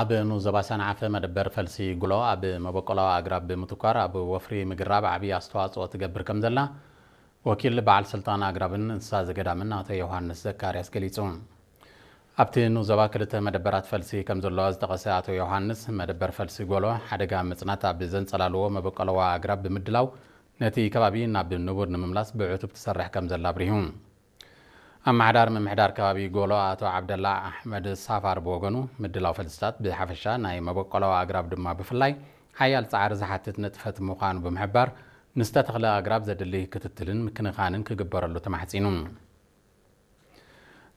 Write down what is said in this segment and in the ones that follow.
ኣብ ንኡስ ዞባ ሰንዓፈ መደበር ፈልሲ ጎሎ ኣብ መበቆላዊ ኣግራብ ብምትኳር ኣብ ወፍሪ ምግራብ ዓብዪ ኣስተዋፅኦ ትገብር ከም ዘላ ወኪል በዓል ስልጣን ኣግራብን እንስሳ ዘገዳምን ኣቶ ዮሃንስ ዘካርያስ ገሊፁ። ኣብቲ ንኡስ ዞባ ክልተ መደበራት ፈልሲ ከም ዘለዋ ዝጠቐሰ ኣቶ ዮሃንስ፣ መደበር ፈልሲ ጎሎ ሓደጋ ምፅናት ኣብ ዘንፀላልዎ መበቆላዊ ኣግራብ ብምድላው ነቲ ከባቢ ናብ ንቡር ንምምላስ ብዕቱብ ትሰርሕ ከም ዘላ ኣብሪሁ። ኣመሓዳሪ ምምሕዳር ከባቢ ጎሎ ኣቶ ዓብደላ ኣሕመድ ሳፋር ብወገኑ፣ ምድላው ፈልስታት ብሓፈሻ ናይ መበቆላዊ ኣግራብ ድማ ብፍላይ ሓያል ጻዕሪ ዝሓትት ንጥፈት ምዃኑ ብምሕባር፣ ንዝተተኽለ ኣግራብ ዘድሊ ክትትልን ምክንኻንን ክግበረሉ ተማሕጺኑ።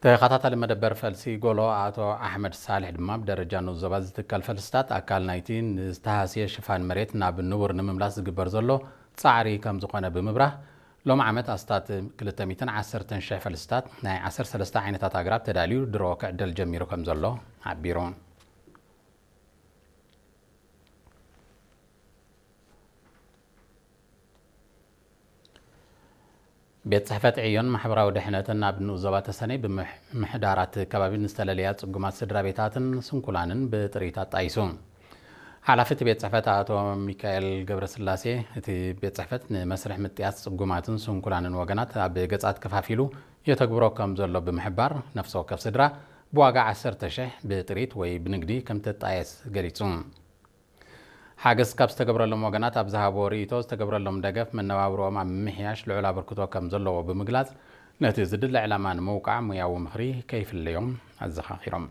ተኸታታሊ መደበር ፈልሲ ጎሎ ኣቶ ኣሕመድ ሳልሕ ድማ፣ ብደረጃ ንኡስ ዞባ ዝትከል ፈልስታት ኣካል ናይቲ ንዝተሃስየ ሽፋን መሬት ናብ ንቡር ንምምላስ ዝግበር ዘሎ ጻዕሪ ከም ዝኾነ ብምብራህ፣ ሎም ዓመት ኣስታት ክልተ ሚእትን ዓሰርተን ሽሕ ፈልስታት ናይ ዓሰርተ ሰለስተ ዓይነታት ኣግራብ ተዳልዩ ድሮ ክዕደል ጀሚሩ ከም ዘሎ ሓቢሩ። ቤት ጽሕፈት ዕዮን ማሕበራዊ ድሕነትን ኣብ ንኡስ ዞባ ተሰነይ ብምሕዳራት ከባቢ ንዝተለለያ ጽጉማት ስድራ ቤታትን ስንኩላንን ብጥሪት ኣጣይሱ። ሓላፊ እቲ ቤት ጽሕፈት ኣቶ ሚካኤል ገብረስላሴ፣ እቲ ቤት ጽሕፈት ንመስርሕ ምጥያስ ጽጉማትን ስንኩላንን ወገናት ኣብ ገጻት ከፋፊሉ የተግብሮ ከም ዘሎ ብምሕባር፣ ነፍሲ ወከፍ ስድራ ብዋጋ ዓሰርተ ሽሕ ብጥሪት ወይ ብንግዲ ከም ትጣየስ ገሊጹ። ሓገዝ ካብ ዝተገብረሎም ወገናት ኣብ ዝሃቦ ርእይቶ፣ ዝተገብረሎም ደገፍ መነባብሮኦም ኣብ ምምሕያሽ ልዑል ኣበርክቶ ከም ዘለዎ ብምግላጽ፣ ነቲ ዝድለ ዕላማ ንምውቃዕ ሙያዊ ምኽሪ ከይፍለዮም ኣዘኻኺሮም።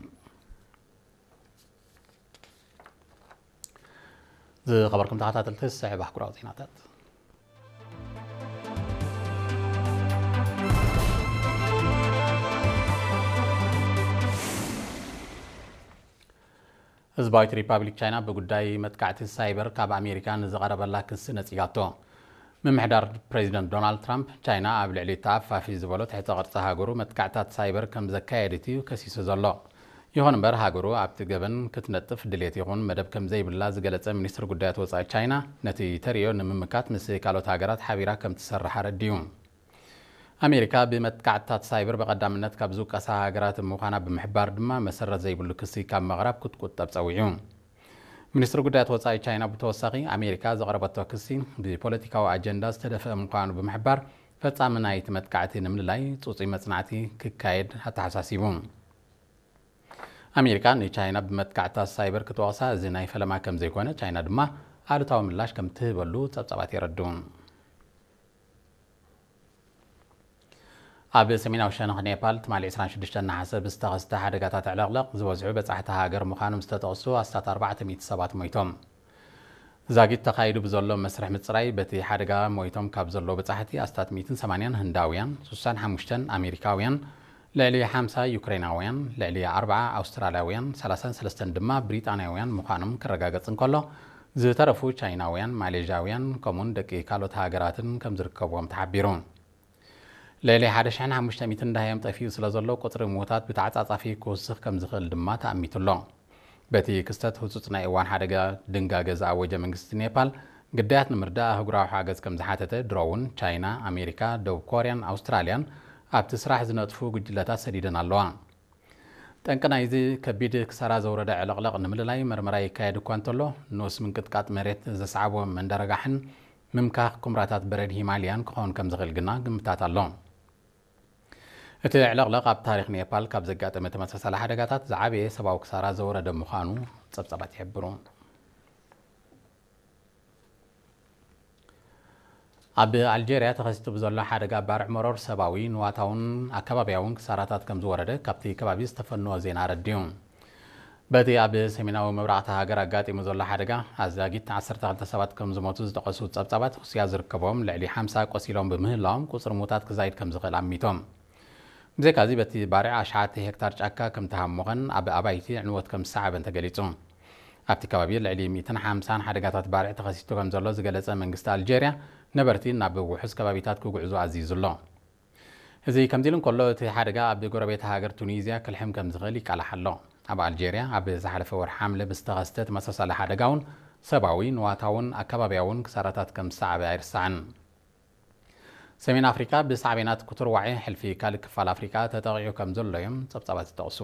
ዝኸበርኩም ተኸታተልቲ፣ ዝስዕብ ኣህጉራዊ ዜናታት። ህዝባዊት ሪፓብሊክ ቻይና ብጉዳይ መጥቃዕቲ ሳይበር ካብ ኣሜሪካ ንዝቐረበላ ክሲ ነጺጋቶ። ምምሕዳር ፕሬዚደንት ዶናልድ ትራምፕ፣ ቻይና ኣብ ልዕሊ ተኣፋፊ ዝበሎ ትሕተ ቅርጺ ሃገሩ መጥቃዕታት ሳይበር ከም ዘካየደት እዩ ከሲሱ ዘሎ። ይኹን እምበር፣ ሃገሩ ኣብቲ ገበን ክትነጥፍ ድሌት ይኹን መደብ ከም ዘይብላ ዝገለጸ ሚኒስትር ጉዳያት ወጻኢ ቻይና፣ ነቲ ተርእዮ ንምምካት ምስ ካልኦት ሃገራት ሓቢራ ከም ትሰርሕ ኣረዲኡ። ኣሜሪካ ብመጥቃዕትታት ሳይበር ብቐዳምነት ካብ ዝውቀሳ ሃገራት ምዃና ብምሕባር ድማ፣ መሰረት ዘይብሉ ክሲ ካብ ምቕራብ ክትቁጠብ ጸዊዑ። ሚኒስትሪ ጉዳያት ወጻኢ ቻይና ብተወሳኺ፣ ኣሜሪካ ዘቕረበቶ ክሲ ብፖለቲካዊ ኣጀንዳ ዝተደፍአ ምዃኑ ብምሕባር፣ ፈጻሚ ናይቲ መጥቃዕቲ ንምልላይ ጽጹይ መጽናዕቲ ክካየድ ኣተሓሳሲቡ። ኣሜሪካ ንቻይና ብመጥቃዕትታት ሳይበር ክትወቕሳ፣ እዚ ናይ ፈለማ ከም ዘይኮነ፣ ቻይና ድማ ኣሉታዊ ምላሽ ከም ትህበሉ ጸብጻባት የረድኡ። ኣብ ሰሜናዊ ሸነኽ ኔፓል፣ ትማሊ ዕስራን ሽዱሽተን ነሓሰ ብዝተኸስተ ሓደጋታት ዕለቕለቕ ዝበዝሑ በጻሕቲ ሃገር ምዃኖም ዝተጠቕሱ ኣስታት ኣርባዕተ ሚእቲ ሰባት ሞይቶም። ዛጊት ተኻይዱ ብዘሎ መስርሕ ምጽራይ፣ በቲ ሓደጋ ሞይቶም ካብ ዘለዉ በጻሕቲ ኣስታት ሚእትን ሰማንያን ህንዳውያን፣ ስሳን ሓሙሽተን ኣሜሪካውያን፣ ልዕሊ ሓምሳ ዩክሬናውያን፣ ልዕሊ ኣርብዓ ኣውስትራልያውያን፣ ሰላሳን ሰለስተን ድማ ብሪጣንያውያን ምዃኖም ክረጋገጽ እንከሎ፣ ዝተረፉ ቻይናውያን፣ ማሌዥያውያን፣ ከምኡውን ደቂ ካልኦት ሃገራትን ከም ዝርከብዎም ተሓቢሩ። ልዕሊ ሓደ ሽሕን ሓሙሽተ ሚእትን ደሃዮም ጠፊኡ ስለ ዘሎ፣ ቁጽሪ ምዉታት ብተዓጻጻፊ ክውስኽ ከም ዝኽእል ድማ ተኣሚቱ ኣሎ። በቲ ክስተት ህጹጽ ናይ እዋን ሓደጋ ድንጋገ ዝኣወጀ መንግስቲ ኔፓል፣ ግዳያት ንምርዳእ ኣህጉራዊ ሓገዝ ከም ዝሓተተ፣ ድሮ እውን ቻይና፣ ኣሜሪካ፣ ደቡብ ኮርያን ኣውስትራልያን ኣብቲ ስራሕ ዝነጥፉ ጉጅለታት ሰዲደን ኣለዋ። ጠንቂ ናይዚ ከቢድ ክሳራ ዘውረደ ዕልቕልቕ ንምልላይ መርመራ ይካየድ እኳ እንተሎ፣ ንኡስ ምንቅጥቃጥ መሬት ዘስዓቦ መንደረጋሕን ምምካኽ ኩምራታት በረድ ሂማልያን ክኸውን ከም ዝኽእል ግና ግምታት ኣሎ። እቲ ዕልቕልቕ ኣብ ታሪኽ ኔፓል ካብ ዘጋጠመ ተመሳሳሊ ሓደጋታት ዝዓበየ ሰብኣዊ ክሳራ ዘውረደ ምዃኑ ጸብጻባት ይሕብሩ። ኣብ ኣልጀርያ ተኸሲቱ ብዘሎ ሓደጋ ባርዕ መሮር ሰብኣዊ፣ ንዋታውን ኣከባብያውን ክሳራታት ከም ዝወረደ ካብቲ ከባቢ ዝተፈነወ ዜና ኣረዲኡ። በቲ ኣብ ሰሜናዊ ምብራቕ እታ ሃገር ኣጋጢሙ ዘሎ ሓደጋ፣ ኣዛጊት ዓሰርተ ክልተ ሰባት ከም ዝሞቱ ዝጠቐሱ ጸብጻባት፣ ሩስያ ዝርከቦም ልዕሊ ሓምሳ ቆሲሎም ብምህላዎም፣ ቁጽሪ ምዉታት ክዛይድ ከም ዝኽእል ኣሚቶም። ብዘይካዚ፣ በቲ ባርዕ ኣሽሓት ሄክታር ጫካ ከም ተሃሞኸን ኣብ ኣባይቲ ዕንወት ከም ዝሰዓበን ተገሊጹ። ኣብቲ ከባቢ ልዕሊ ሚእትን ሓምሳን ሓደጋታት ባርዕ ተኸሲቱ ከም ዘሎ ዝገለጸ መንግስቲ ኣልጀርያ፣ ነበርቲ ናብ ውሑስ ከባቢታት ክጉዕዙ ኣዚዙ ኣሎ። እዚ ከምዚ ኢሉ እንከሎ፣ እቲ ሓደጋ ኣብ ጎረቤት ሃገር ቱኒዝያ ክልሕም ከም ዝኽእል ይቃላሕ ኣሎ። ኣብ ኣልጀርያ ኣብ ዝሓለፈ ወርሒ ሓምለ ብዝተኸስተ ተመሳሳሊ ሓደጋ እውን ሰብኣዊ፣ ንዋታውን ኣከባብያውን ክሳራታት ከም ዝሰዓበ ኣይርሳዕን። ሰሜን ኣፍሪካ ብሳዕቤናት ክትርዋዒ ሕልፊ ካልእ ክፋል ኣፍሪካ ተጠቒዑ ከም ዘሎ እዮም ጸብጻባት ዝጠቕሱ።